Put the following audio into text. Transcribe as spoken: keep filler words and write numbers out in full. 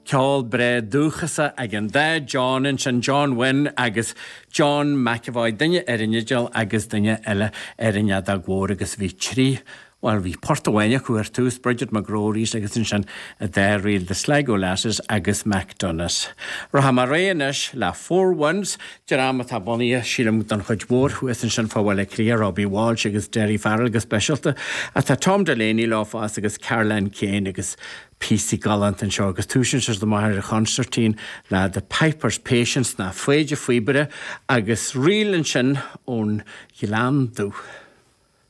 Ceol breá dúchasach ag an dá John ansin John Wynne agus John McEvoy duine ar an fhidil agus duine eile ar an fheadóg mhór agus bhí trí Well bhí port amháin acu ar tús Bridget McGrory's agus ansin an dá ríl The Sligo Lasses agus McDonough's. Rachaidh mé ar aghaidh anois le Four Winds, dream atá bunaithe sílim don chuid mhór thuas ansin fá Bhaile Átha Cliath, Robbie Walsh agus Derry Farrell go speisialta, atá Tom Delaney leo fosta agus Caroline Kane agus píosaí galánta anseo agus tosaíonn siad amach ar an chonsairtín le The Piper's Patience ná Foighde Phíobaire agus ríl ansin ón Ghleann Dubh.